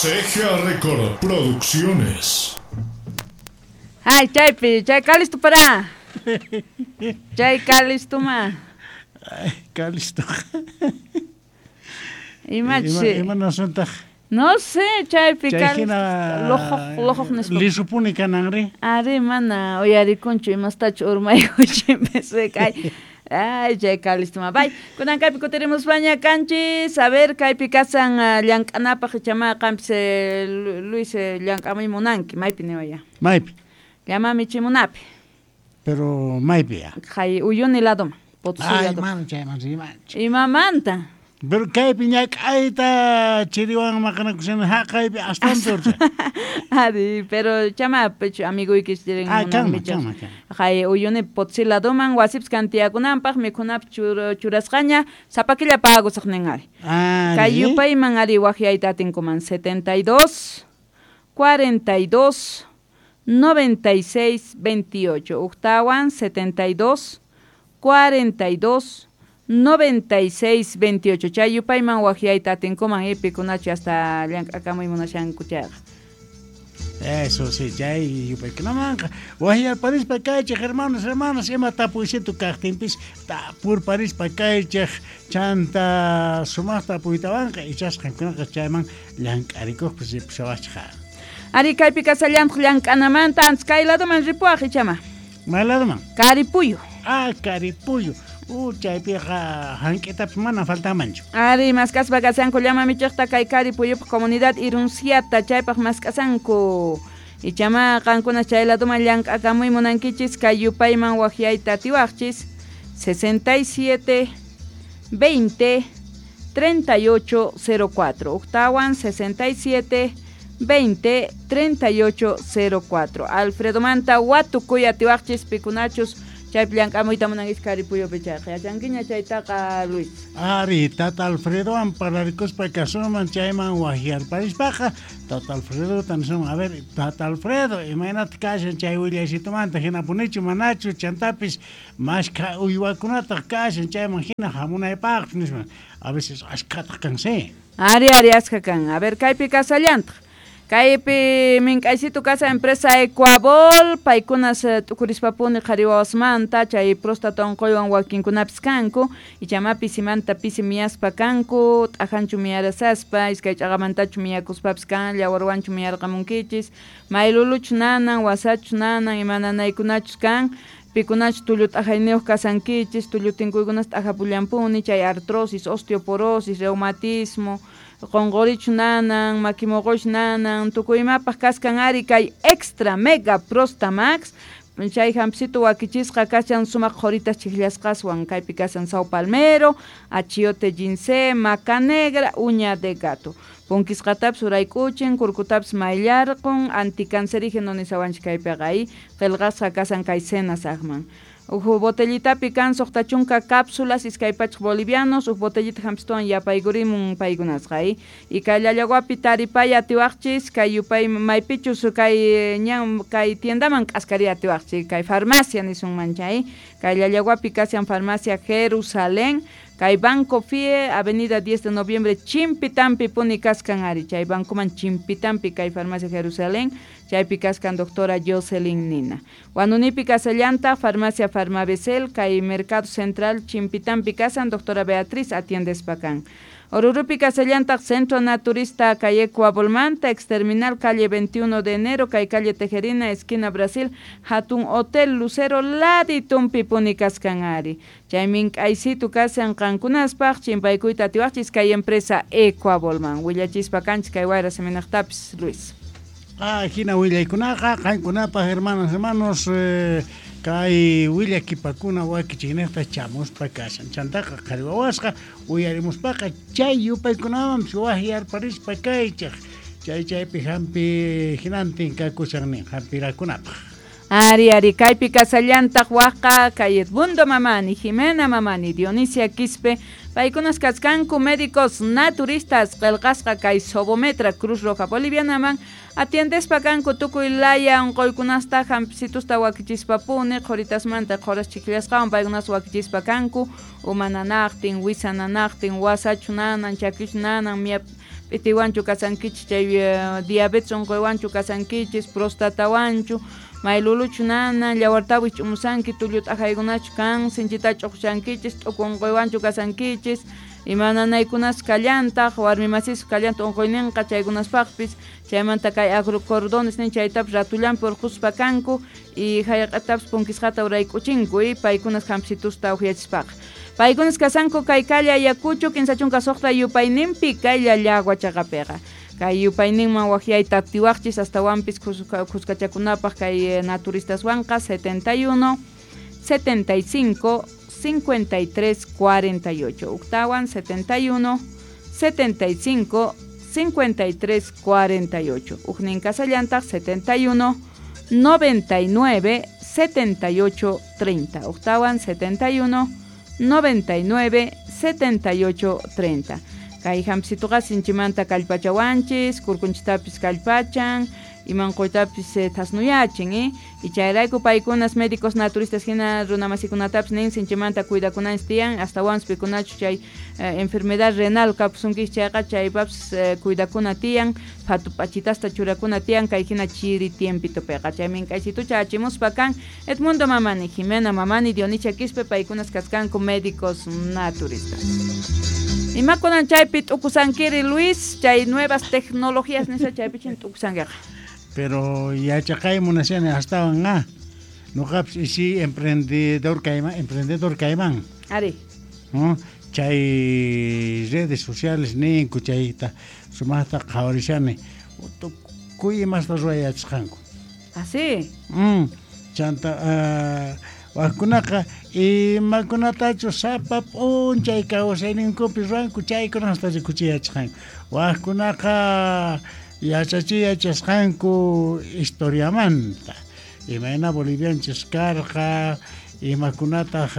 CGA Record Producciones. Ay, chaypi, chay Calisto para. Chay Calisto ma. Ay, Calisto. Imachi. Ima nasuntaq? No sé, chaypi Chay Calisto. hina Lojoq, lojoq nispa. Lisupuni kananri. Ari mana uyarikunchu imastachu urmaykuchimpis kay. Ay, chay Calisto ma. Bay, kunan kaypi kutirimuspaña kanchis. A ver, kaypi kasan llank'anapaq ichama qampis Luis llank'amuy munanki, maypi niwaya. Maypi. Llama michimunapi. Pero maypi ya. Kay Uyuni ladoma, Potosí Ay, ladoma. mana chayman rimanchu. Imamanta. Pero kaypi ñak'ayta chiriwan maqanakushani haqaypi astawan turcha. Ari, pero chama pecho amiguykish tirin Ah, munan kanman, michas. kanman, kanman. Kay Uyuni Potosí ladoman wasipis kantiyakunanpaq mikhunapis churasqaña sapakilla pagusaq nin ari. Ari. Kay yupayman ari waqyayta atinkuman 72 42 96 28. Uktawan 72 42 96 28. Chay yupayman waqyayta atinkuman ipikunachu hasta llank'akamuy munashanku chayqa. Eso sí, chay yupaykunamanqa waqyarparispa kaychej hermanos, hermanas, ima tapuysitu kaqtinpis tapurparispa kaychej chanta sumaqta tapuytawanqa ichasqankunaqa chayman llank'arikuqpis ripusawachqa. Ari kaypi kasallantaq llank'anamanta antes kay ladoman ripuwaq ichama. May ladoman? Caripuyo. Ah, Caripuyo. Chaypiqa hank'itapis mana faltamanchu. Ari mask'aspa kasanku llama michiqta kay Caripuyupaq comunidad Irunciata chaypaq mask'asanku. Ichama qankuna chay ladoman llank'akamuy munankichis kay yupayman waqyayta atiwaqchis 67 20 38 04. Uktawan 67 20 38 04. Alfredo Manta watukuy atiwaqchis pikunachus chaypi llank'amuyta munankichis Caripuyupi chayqa. Yachankiña chaytaqa Luis. Ari, Tata Alfredowan parlarikuspa kasuman chayman waqyarparispaqa Tata Alfredo nisunman, a ver, Tata Alfredo, imaynata kashan chay willaysitumanta hinapunichu manachu chantapis mashkha uywakunataq kashan chayman hina hamunaypaqpis nisman. A veces ashkhataq kan, sí. Ari, ari, ashkha kan. A ver, kaypi kasallantaq. Kaypi mink'aysitu kasa empresa Ecuabol, paykunas t'ukurispapuni qhari wawasmanta, chay próstata unquywan wakinkunapis kanku, ichama pisimanta pisi miyaspa kanku, t'ajanchu miyarasaspa, iskay ch'aqamantachu miyakuspapis kan, llawarwanchu miyarqamunkichis, mayluluchu nanan, wasachu nanan, ima nanaykunachus kan, pikunachu tullu t'ajayniyuq kasankichis, tullu tinkuykunas t'ajapullanpuni, chay artrosis, osteoporosis, reumatismo, qonqorichu nanan, makimoqochu nanan, tukuy imapaq kaskan ari kay extra mega prostamax, chay hampisitu wakichisqa kashan sumaq qhoritas chijllasqaswan, kaypi kasan sao palmero, achiote ginseng, maca negra, uña de gato. Punkisqatapis urayk'uchin, kurkutapis mayllarqun, anticancerígeno nisawanchik kaypiqa ahí, qillqasqa kasan kay cenas aqman. Uj botellitapi kan suqta chunka cápsulas iskay pachaq bolivianos, uj botellita hampishtuwan yapaykurimun paykunasqa ahí. Y kay Llallaguapi taripay atiwaqchis, kay yupay maypichus kay ñan kay tiendaman k'askari atiwaqchis, kay farmacia nisunman chay, kay Llallaguapi kashan farmacia Jerusalén, kay Banco Fie, Avenida 10 de Noviembre, Chimpitampi puni kaskan ari, chay bancoman Chimpitampi kay farmacia Jerusalén, chaypi kaskan doctora Jocelyn Nina. Huanunipi kasallanta, farmacia Farmabesel, kay Mercado Central, Chimpitampi kasan, doctora Beatriz atiendespakan. Orurupi kasallanta, Centro Naturista, calle Coabolmanta, Exterminal, calle 21 de enero, kay calle Tejerina, esquina Brasil, Hatun Hotel Lucero, Laditumpi puni kaskan ari. Chay mink'aysitu kasan qankunaspaq, chimpaykuyta atiwaqchis kay empresa Ecuabolman. Willachispa kanchis kay wayra seminaqtapis, Luis. Ah, hina willaykunaqa, qankunapaq, hermanas, hermanos, kay willakipakuna wakichiynejta chamuspa kashan. Chantaqa qhari wawasqa uyarimuspaqa chay yupaykunamanpis waqyarparispa kaychej. Chay chaypi hampi hinantin kakushan nin hampirakunapaq. Ari, ari, kaypi kasallantaq waqqa kay Edmundo Mamani, Jimena Mamani, Dionisia Quispe, paykunas kaskanku médicos naturistas qillqasqa kay Sobometra Cruz Roja Bolivianaman, atiendespa kanku tukuy laya unquykunasta hampisitusta wakichispapuni, qhuritasmanta qhuras chikillasqawan paykunas wakichispa kanku, uma nanaqtin, wisa nanaqtin, wasachu nanan, chakichu nanan, P'itiwanchu kasankichis chay diabetes unquywanchu kasankichis, prostatawanchu, mayluluchu nana, llawartawi ch'umusanki, tullu t'ajaykunachu kan, sinchita ch'uqshankichis, t'uku unquywanchu kasankichis, ima nanaykunas kallantaq, warmi masis kallantaq unquyninqa chaykunaspaqpis, chaymanta kay agrocordones nin chaytapis ratullanpi urquspa kanku y jayq'atapis punkisqata urayk'uchinku y paykunas hampsitusta uhyachispaqa. Paykunas kasanku kay calle Ayacucho, 56 yupayninpi, kaylla llagua chaqapiqa. Kay yupayninman waqyayta atiwaqchis astawanpis khuskachakunapaq kay naturistaswanqa 71 75 53 48. Uktawan 71 75 53 48. Ujnin kasallantaq 71 99 78 30. Uktawan 71 99 78 30. Kay hampsituqa sinchimanta kallpachawanchis, kurkunchitapis kallpachan, imanquytapis thasnuyachin, y chayrayku paykunas médicos naturistas hina runamasikunatapis nin sinchimanta cuidakunanchis tiyan, astawanpis pikunachu chay enfermedad renal kapusunkichis chayqa chaypapis cuidakuna tiyan, phatu p'achitasta churakuna tiyan kay hina chiri tiempitopiqa. Chay mink'aysitucha achimuspa kan Edmundo Mamani, Jimena Mamani, Dionisia Quispe, paykunas kaskanku médicos naturistas. Imakunan chaypi t'ukusankiri Luis, chay nuevas tecnologías nisqa chaypi chin t'ukusankiqa. Pero yachaqay munashani astawan noqapis isi emprendedor kayman. Ari. Chay redes sociales ninku chayta sumaqta qhawarishani tukuy imasta ruwayachisqanku. Así. Chanta wajkunaqa imakunatachu sapa p'unchay kawsayninkupi ruwanku chaykunasta rikuchiyachisqanku. Wajkunaqa yachachiy yachasqanku historiamanta imayna bolivianchis karqa, imakunataq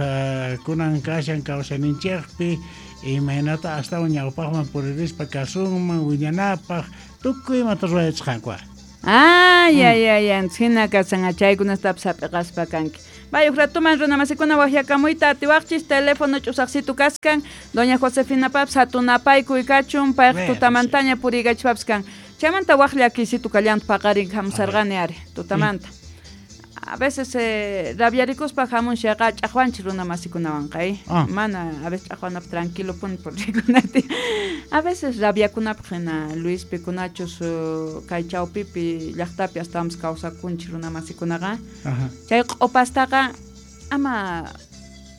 kunan kashan kawsayninchikpi, imaynata astawan ñawpaqman puririspa kasunman wiñanapaq, tukuy imata ruwayachisqanku. Ay, ay, ay, hina kasan chaykunastapis hap'iqaspa kanki. Vaya, ratuman runamasikuna waqyakamuyta atiwaqchis, teléfono ch'usaqsitu kaskan, doña Josefina paps hatunapaykuy kachun, payqa tutamantaña puriykachpaps kan. Chaymanta waq llakiysitu kallanta paqarin hamusarqani ari, tutamanta. A veces rabiarikuspa hamun xaqa ch'aqwanchis runamasikunawanqa, mana a veces ch'aqwanapaq tranquilo puni purikunati. A veces rabiakunapaq hina Luis pikunachus kay chawpipi llaqtapi astawanpis kawsakunchis runamasikunaqa. Chay q'upastaqa ama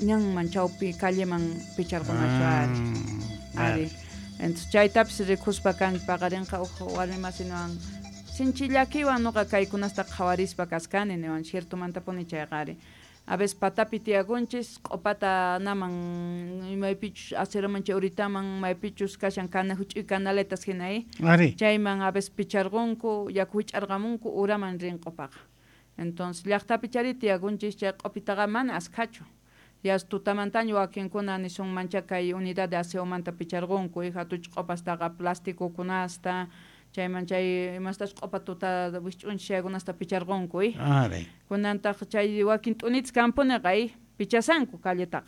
ñanman chawpi calleman picharqunachu ari. Ari. Entonces chaytapis rikuspa kan paqarinqa uj warmi masinuwan sinchi llakiwan noqa kaykunasta qhawarispa kaskani niwan ciertomantapuni chayqa ari. A veces patapi tiyakunchis q'upata naman maypichus aceraman chay uritaman maypichus kashan huch'uy canaletas hina chayman a veces picharqunku yaku hich'arqamunku uraman rin q'upaqa. Entonces llaqtapi chari tiyakunchis chay q'upitaqa mana askhachu. Ya tutamantaña wakinkuna nisunmancha kay unidad de aseomanta picharqunku hatuch q'upastaqa plastikukunasta chayman chay imastas q'upa tuta wisch'unchis chaykunasta picharqunku. Kunantaq chay wakin t'unitas kampuniqa pichasanku calletaqa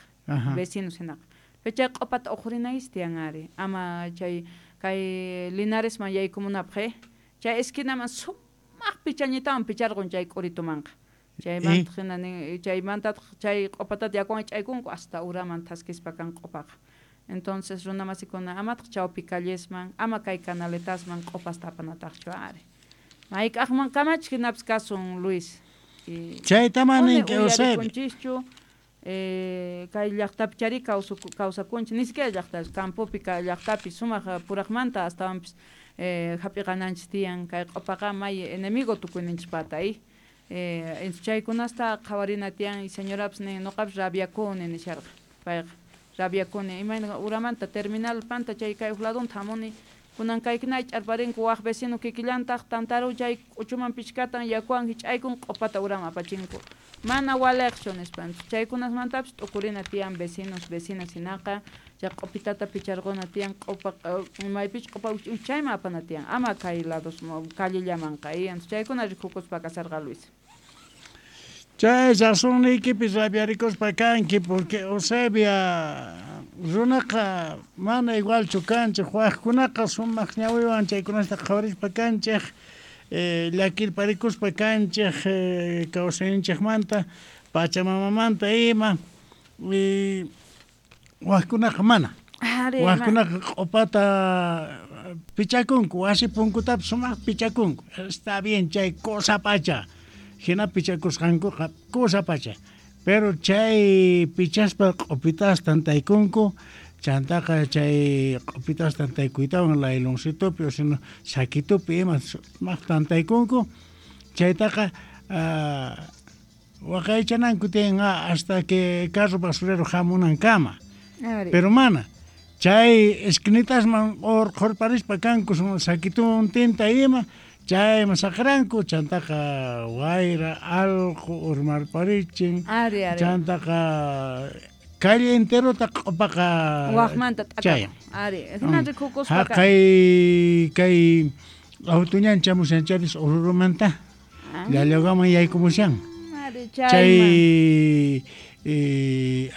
vecinos hinaqa. Pero chay q'upata uqhurinayis tiyan ari, ama chay kay Linaresman yaykumunapaq chay esquinaman sumaq pichañitawan picharqun chay k'uritumanqa. Chaymanta hina nin chaymantataq chay q'upatata yakuwan ch'aykunku hasta uraman thaskispa kan q'upaqa. Entonces runamasikuna amataq chawpi callesman, ama kay canaletasman q'upasta apanataqchu ari. Mayk'aqman kamachik hinapis kasun Luis. Chaytaman ninki Eusebio. Uyarikunchischu kay llaqtapi chari kawsakunchis, ni siquiera llaqta, campopi llaqtapi sumaq puraqmanta astawanpis hap'iqananchis tiyan kay q'upaqa may enemigo tukuyninchispata. Chaykunasta qhawarina tiyan y señorapis nin noqapis rabiakuni nisharqa payqa. Rabiakuni imayna uramanta terminal panta chay kay uj ladunta hamuni kunan kaykuna ch'arparinku waq vecino kikillantaq tantaru chay k'uchuman pichkatan yakuwan hich'aykun q'upata uraman apachinku mana waliqchu nispa. Chaykunasmantapis t'ukurina tiyan vecinos vecinas hinaqa chay q'upitata picharquna tiyan q'upa maypichus q'upa chayman apana tiyan ama kay lados callellamanqa. Chaykuna rikukuspa kasarqa Luis. Chay razonniykipis rabiarikuspa kanki porque Eusebia Runaqa mana igualchu kanchej, wajkunaqa sumaq ñawiwan chaykunasta qhawarispa kanchej, llakirparikuspa kanchej kawsayninchejmanta, pachamamamanta ima, wajkunaqa mana. Wajkunaqa q'opata pichakunku, wasi punkutapis sumaq pichakunku. Está bien chay cosa pacha. Hina pichakusqankuqa cosa pacha. Pero chay pichaspa q'opitas tantaykunku, chantaqa chay q'opitas tantaykuytawan layloncitopi o sino saquitopi ima sumaq tantaykunku, chaytaqa waqaychananku tiyan hasta que carro basurero hamunankama. Pero mana, chay esquinitasman urqhurparispa kanku saquitontinta ima, chayman saqranku, chantaqa wayra, alqu urmarparichin, chantaqa calle enterota q'upaqa wajmanta t'akan. Haqay kay auto ñan chamushan charis Orurumanta, Llallagaman yaykumushan. Chay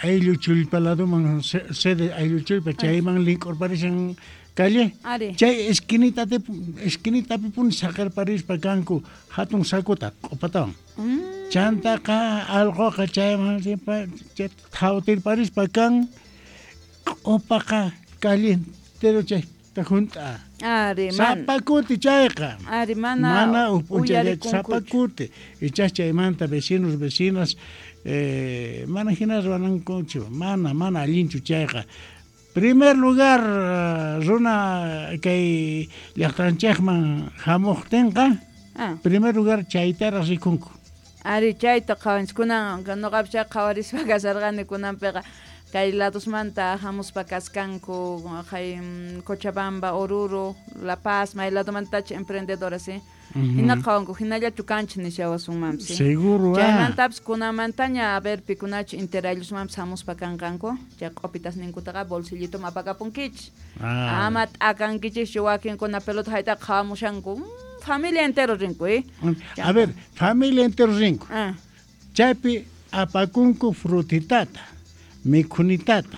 ayllu chullpa ladoman, sede ayllu chullpa, chayman link'urparishan calle. Chay esquinitapipuni saqerparispa kanku hatun sacuta q'upatawan. Chantaqa alquqa chayman thawtirparispa kan, q'upaqa calle entero chayta junt'a. Sapa kuti chayqa. Mana uj p'unchayllachu, sapa kuti. Ichas chaymanta vecinos, vecinas mana hina ruwanankuchu, mana allinchu chayqa. Primer lugar runa kay llaqtanchikman hamuqtinqa, primer lugar chaytaraq rikunku. Ari chayta qhawanchik kunan noqapis chay qhawarispa kasharqani kunanpiqa kay ladosmanta hamuspa kaskanku kay Cochabamba, Oruro, La Paz, may ladomantachu emprendedoras, hina qhawanku hinallachu kanchik nishawasunmanpis. Seguro. Chaymantapis kunamantaña a ver pikunachu interayllusmanpis hamuspa kanqanku, chay q'opitasninkutaqa bolsillituman apakapunkichik. Ama t'akankichikchu wakinkuna pelota haytaqa qhawamushanku. Familia entero rinku, A ver, familia entero rinku. Chaypi apakunku frutitata, mikhunitata,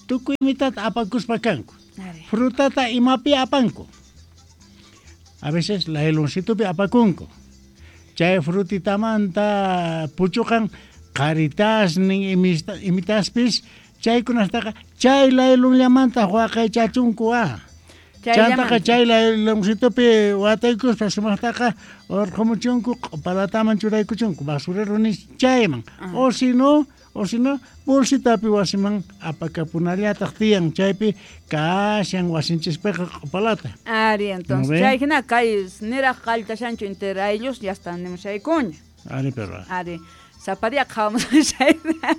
tukuy imitata apakuspa kanku. Frutata imapi apanku. A veces layloncitopi apakunku. Chay frutitamanta puchuqan qaritasnin imitaspis chaykunastaqa chay laylonllamanta waqaychachunku. Chantaqa chay layloncitopi wataykuspa sumaqtaqa urqhumuchunku q'upalataman churaykuchunku basurero nis chayman. O si no, bolsitapi wasiman apakapunallataq tiyan chaypi kashan wasinchispiqa q'upalata. Ari, entonces chay hina kay niraq qalltashanchu interayllos ya están nimushaykuña. Ari, pero. Ari, sapa día qhawamushayta.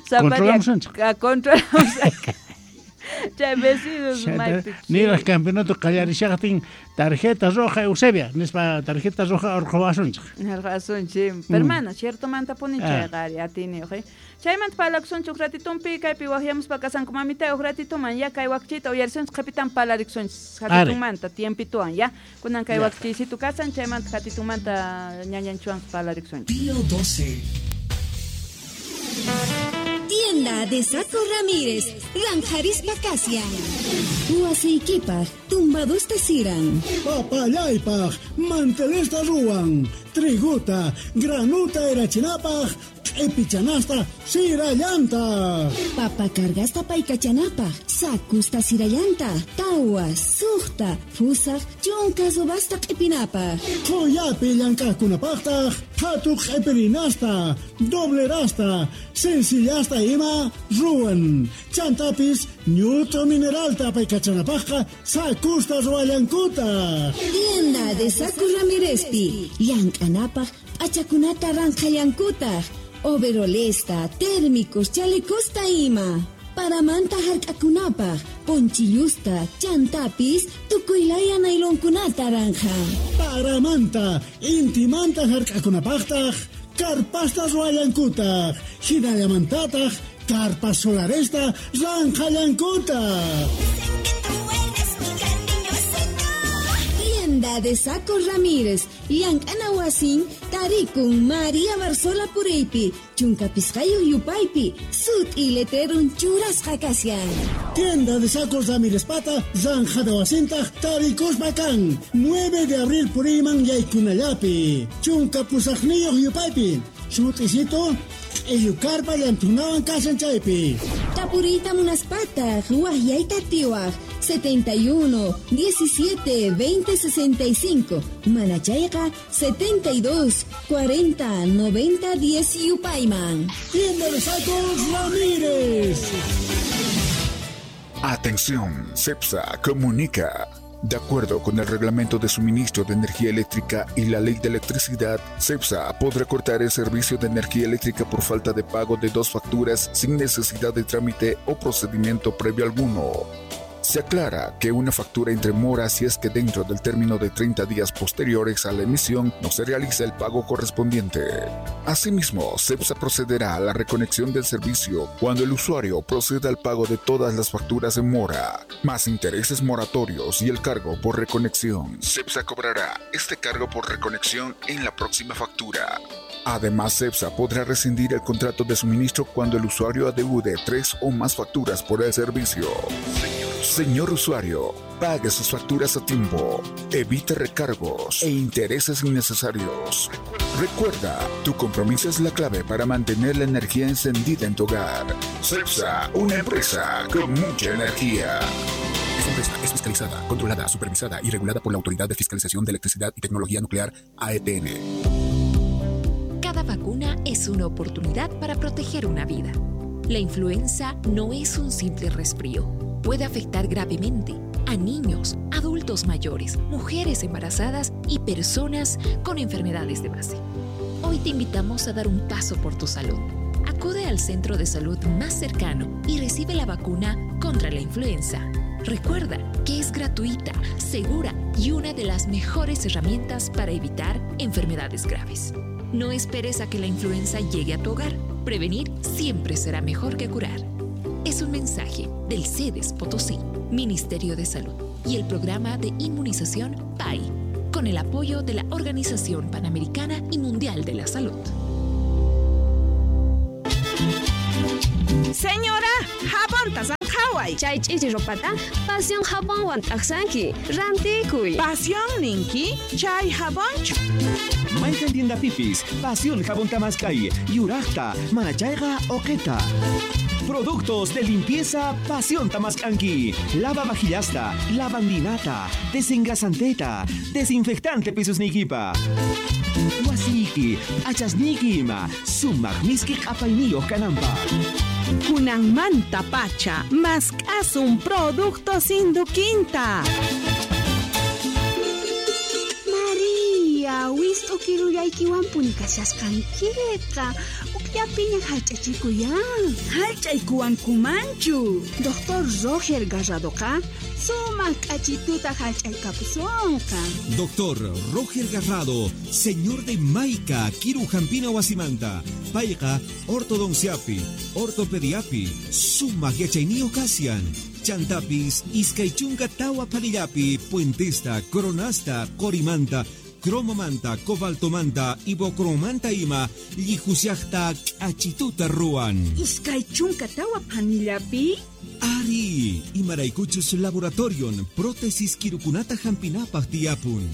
Sapa día controlamos. Chay vecinos maypi. Niraq campeonato qallarishaqtin tarjeta roja Eusebia, nispa tarjeta roja urqhuwasunchik. Urqhuwasunchik. Pero mana, ciertomanta puni chayqa ari atiniyuq. Chaymanta parlakusunchik ratitumpi kaypi waqyamuspa kasanku mamita uj ratituman ya kay wakchita uyarisunchik qhipitan parlarikusunchik hatitunmanta tiempituwan ya. Kunan kay wakchiysitu kasan chaymanta hatitunmanta ñañanchuwan parlarikusunchik. Pío 12. Tienda de Saco Ramírez, Ranjarispa Casia. Huasiykipaj, tumbadusta siran. Papallaypaj, mantelesta ruwan. Triguta, granuta erachinapaj, q'ipichanasta sirallanta. Papa cargasta paykachanapaj, sakusta sirallanta. Tawa, suqta, fusaj, chunka subasta q'ipinapaj. Qhuyapi llank'aqkunapaqtaq, qhatu q'ipirinasta, doblerasta, sencillasta ima ruwan. Chantapis ñut'u mineralta paykachanapaqqa sakusta ruwallankutaq. Tienda de Saco Ramírezpi, llank'anapaj p'achakunata ranqhallankutaq. Overolesta, térmicos, chalecosta ima. Paramanta hark'akunapaj, ponchillusta, chantapis, tukuylaya nailonkunata ranja. Paramanta, intimanta hark'akunapaqtaq, karpasta ruwallankutaq, hinallamantataq, karpas solaresta ranqhallankutaq. Tienda Tienda de Sacos Ramírez, llank'ana wasin tarikun María Barzola puriypi, chunka pisqayuq yupaypi, sut'i letrerun churasqa kashan. Tienda de Sacos Ramírez pata, Zanja de wasintaq tarikuspa kan, 9 de abril puriyman yaykunallapi, chunka pusaqniyuq yupaypi, sut'isito q'illu karpa llanthunawan kashan chaypi. Tapuriyta munaspataq waqyayta atiwaq 71 17 20 65, mana chayqa 72 40 90 10 yupayman. Tienda de Sacos Ramírez. Atención, CEPSA comunica. De acuerdo con el Reglamento de Suministro de Energía Eléctrica y la Ley de Electricidad, CEPSA podrá cortar el servicio de energía eléctrica por falta de pago de 2 facturas sin necesidad de trámite o procedimiento previo alguno. Se aclara que una factura entre mora si es que dentro del término de 30 días posteriores a la emisión no se realiza el pago correspondiente. Asimismo, CEPSA procederá a la reconexión del servicio cuando el usuario proceda al pago de todas las facturas en mora, más intereses moratorios y el cargo por reconexión. CEPSA cobrará este cargo por reconexión en la próxima factura. Además, CEPSA podrá rescindir el contrato de suministro cuando el usuario adeude 3 o más facturas por el servicio. Señor usuario, pague sus facturas a tiempo, evite recargos e intereses innecesarios. Recuerda, tu compromiso es la clave para mantener la energía encendida en tu hogar. CEPSA, una empresa con mucha energía. Esta empresa es fiscalizada, controlada, supervisada y regulada por la Autoridad de Fiscalización de Electricidad y Tecnología Nuclear, AETN. Cada vacuna es una oportunidad para proteger una vida. La influenza no es un simple resfrío. Puede afectar gravemente a niños, adultos mayores, mujeres embarazadas y personas con enfermedades de base. Hoy te invitamos a dar un paso por tu salud. Acude al centro de salud más cercano y recibe la vacuna contra la influenza. Recuerda que es gratuita, segura y una de las mejores herramientas para evitar enfermedades graves. No esperes a que la influenza llegue a tu hogar. Prevenir siempre será mejor que curar. Es un mensaje del CEDES Potosí, Ministerio de Salud y el programa de inmunización PAI, con el apoyo de la Organización Panamericana y Mundial de la Salud. Señora, jabón tasanjaway. Chay ch'ichi ropata, pasión jabonwan t'aqsanki, rantikuy. Pasión ninki, chay jabonchu. Mayqan tienda pipis, pasión jabón tamaskay, yuraqta, manachayqa oqeta. Productos de limpieza Pasión Tamascanqui. Lava vajillasta, lavandinata, desengrasanteta, desinfectante pisusnikipa. Wasiki, achasniki ima, sumaq miski q'apayniyuq kananpaq. Kunanmanta pacha, mask'asun productos Induquinta. María, wist'u kirullaykiwanpuni kashasqankiqa. Ukllapiña hallch'achikuyan. Hallch'aykuwankumanchu. Doctor Roger Garradoqa sumaq k'achituta hallch'aykapusonqa. Doctor Roger Garrado, señor de Maica, Kiru Jampina Wasimanta, payqa ortodonciapi, ortopediapi, sumaq yachayniyuq kashan. Chantapis, iskay chunka tawa panillapi, puentesta, coronasta, qorimanta, cromomanta, cobaltomanta, ibocromanta ima, llijusiaqta k'achituta ruwan. Iskay chunka tawa panillapi? Ari, imaraykuchus laboratorion, prótesis kirukunata hampinapaq tiyapun.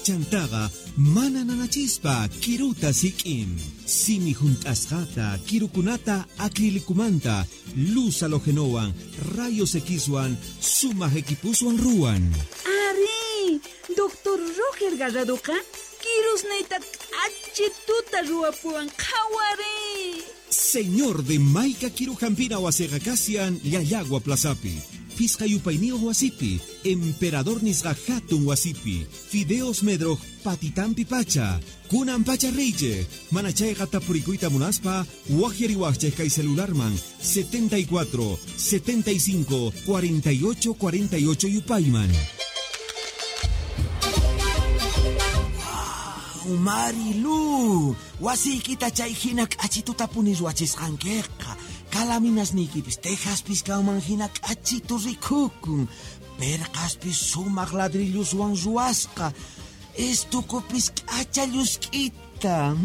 Chantaqa mana nanachispa kiruta sik'in. Simi junt'asqata, kirukunata acrilicumanta, luz halogenowan, rayos Xwan, sumaq equipuswan ruwan. Ari, Doctor Roger Garradoqa kirusniyta k'achituta ruwapuwan qhawari. Señor de Maica Kirujampina wasiqa kashan Llallagua Plazapi, Pisqa yupayniyuq wasipi, Emperador nisqa hatun wasipi, Fideos Medroj patitampi pacha, kunan pacha riychej, mana chayqa tapurikuyta munaspa, waqyariwaqchej kay celularman 74 75 48 48 yupayman. Marilu, wasiykita chay hina k'achituta puni ruwachisqankiqa. Kalaminasniykipis tejaspis kanman hina k'achitu rikukun. Perqaspis sumaq ladrilloswan ruwasqa. Estukupis k'acha llusk'ita.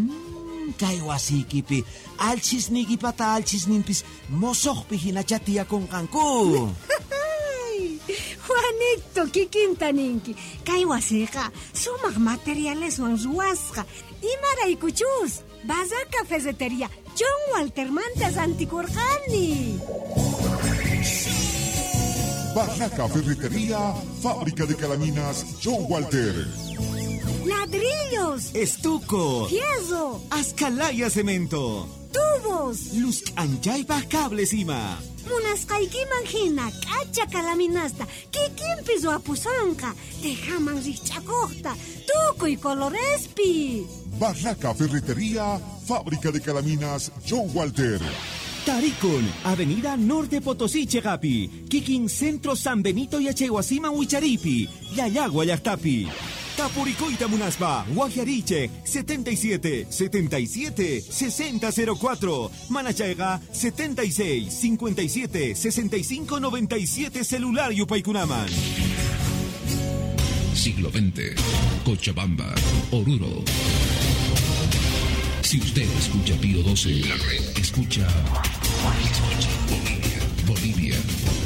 Kay wasiykipi alchisniykipata alchisninpis mosoqpi hinacha tiyakunqanku. Juanito, kikinta ninki. Kay wasiqa sumaq materialeswan ruwasqa. Imaraykuchus Barraca Ferretería John Waltermanta rantikurqani. Barraca Ferretería, fábrica de calaminas John Walter. Ladrillos, Estuco, fierro, Ascalaya cemento, tubos, luz anchaypaj cables ima. Munasqaykiman hina k'acha kalaminasta kikinpi ruwapusonqa, tejaman rikch'akuqta, tukuy colorespi. Barraca Ferretería, fábrica de calaminas John Walter. Tarikun, Avenida Norte Potosí, Chegapi, Kikin Centro San Benito y Achehuasima Huicharipi, Yayagua Llaqtapi. Tapuricoita Munaspa, Guajariche, 77 77 6004, Manachayga, 76 57 65 97 celular Yupaykunaman. Siglo XX, Cochabamba, Oruro. Si usted escucha Pío 12, la red escucha. Escucha Bolivia, Bolivia.